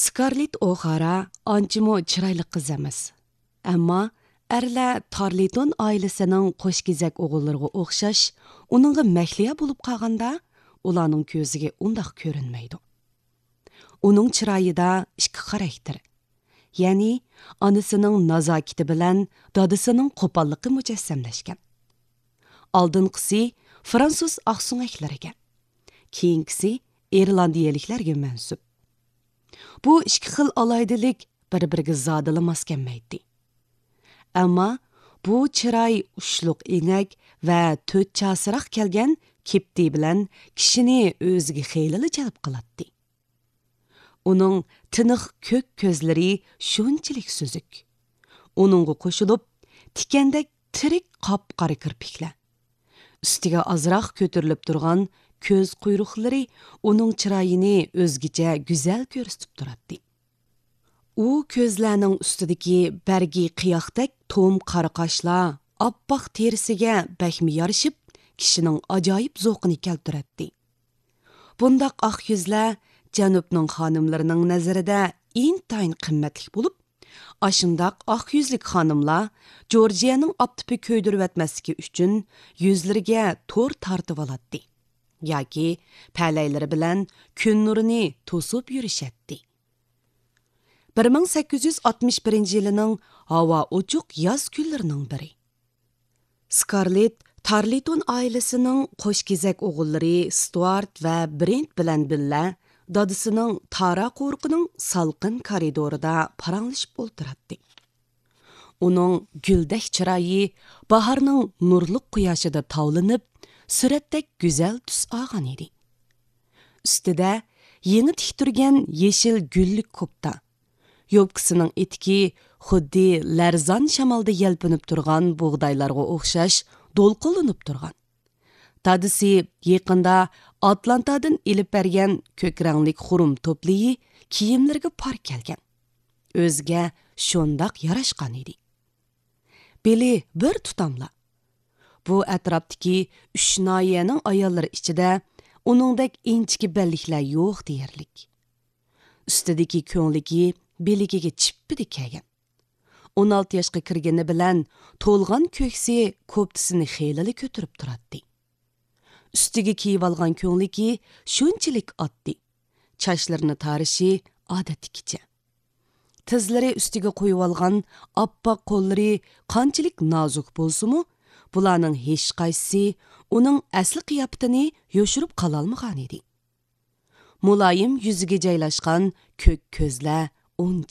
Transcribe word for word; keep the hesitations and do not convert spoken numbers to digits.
سكارلېت ئوخارا ئانچىمۇ چىرايلىق قىز ئەمەس. ئەمما ئەرلەر تارلىتون ئائىلىسىنىڭ قوشكېزەك ئوغۇللىرىغا ئوخشاش ئۇنىڭغا مەھلىيا بولۇپ قالغاندا، ئۇلارنىڭ كۆزىگە ئۇنداق كۆرۈنمەيدۇ. ئۇنىڭ چىرايىدا ئىككى خاراكتېر، يەنى ئانىسىنىڭ نازاكىتى بىلەن دادىسىنىڭ قوپاللىقى مۇجەسسەملەشكەن. ئالدىنقىسى فرانسۇز ئاقسۆڭەكلىرىگە، كېيىنكىسى ئىرلاندىيەلىكلەرگە مەنسۇپ. بۇ ئىككى خىل ئالاھىدىلىك بىر-بىرىگە زادىلا ماس كەلمەيتتى. ئەمما بۇ چىراي ئۇچلۇق ئېڭەك ۋە تۆت چاسىراق كەلگەن كېپتى بىلەن كىشىنى ئۆزىگە خېلىلا جەلپ قىلاتتى. ئۇنىڭ تىنىق كۆك كۆزلىرى شۇنچىلىك سۈزۈك. ئۇنىڭغا قوشۇلۇپ، تىكەندەك تىرىك قاپقارا كىرپىكلەر، ئۈستىگە ئازراق كۆتۈرۈلۈپ تۇرغان كۆز قۇيرۇقلىرى ئۇنىڭ چىرايىنى ئۆزگىچە گۈزەل كۆرسىتىپ تۇراتتى. ئۇ كۆزلەرنىڭ ئۈستىدىكى بەرگى قىياقتەك توم قارا قاشلار ئاپئاق تېرىسىگە بەكمۇ يارىشىپ، كىشىنىڭ ئاجايىپ زوقىنى كەلتۈرەتتى. بۇنداق ئاق يۈزلەر جەنۇبنىڭ خانىملىرىنىڭ نەزىرىدە ئىنتايىن قىممەتلىك بولۇپ، ئاشۇنداق ئاق يۈزلۈك خانىملار جورجىيەنىڭ ئاپتىپى كۆيدۈرۈۋەتمەسلىكى ئۈچۈن يۈزلىرىگە تور تارتىۋالاتتى ياكى پەلەيلىرى بىلەن كۈن نۇرىنى توسۇپ يۈرۈشەتتى. بىر مىڭ سەككىز يۈز ئاتمىش بىرىنچى يىلىنىڭ ھاۋا ئوچۇق ياز كۈنلىرىنىڭ بىرى. سكارلېت تارلىتون ئائىلىسىنىڭ قوشكېزەك ئوغۇللىرى ستۇئارت ۋە برېنت بىلەن بىللە دادىسىنىڭ تارا قورۇقىنىڭ سالقىن كارىدورىدا پاراڭلىشىپ ئولتۇراتتى. ئۇنىڭ گۈلدەك چىرايى باھارنىڭ نۇرلۇق قۇياشىدا تاۋلىنىپ، سۈرەتتەك گۈزەل تۈس ئالغان ئىدى. ئۈستىدە يېڭى تىكتۈرگەن يېشىل گۈللۈك كوپتا، يوپكىسىنىڭ ئېتىكى خۇددى لەرزان شامالدا يەلپۈنۈپ تۇرغان بۇغدايلارغا ئوخشاش دولقۇنلىنىپ تۇرغان. دادىسى يېقىندا ئاتلانتادىن ئېلىپ بەرگەن كۆك رەڭلىك خۇرۇم توپلىيى كىيىملىرىگە پار كەلگەن. ئۆزىگە شۇنداق ياراشقان ئىدى. بېلى بىر تۇتاملا. بۇ ئەتراپتىكى ئۈچ ناھىيەنىڭ ئاياللىرى ئىچىدە ئۇنىڭدەك ئىنچىكە بەللىكلەر يوق دېيەرلىك. ئۈستىدىكى كۆڭلىكى بىلىكىگە چىپپىدە كەلگەن. ئون ئالتە ياشقا كىرگىنى بىلەن تولغان كۆكسى كوپتىسىنى خېلىلا كۆتۈرۈپ تۇراتتى. ئۈستىگە كىيىۋالغان كۆڭلىكى شۇنچىلىك ئاددىي. چاچلىرىنى تارىشى ئادەتتىكىچە. تىزلىرى ئۈستىگە قويۇۋالغان ئاپئاق قوللىرى قانچىلىك نازۇك بولسىمۇ، بۇلارنىڭ ھېچقايسىسى ئۇنىڭ ئەسلى قىياپىتىنى يوشۇرۇپ قالالمىغانىدى. مۇلايىم يۈزىگە جايلاشقان كۆك كۆزلەر ئۇن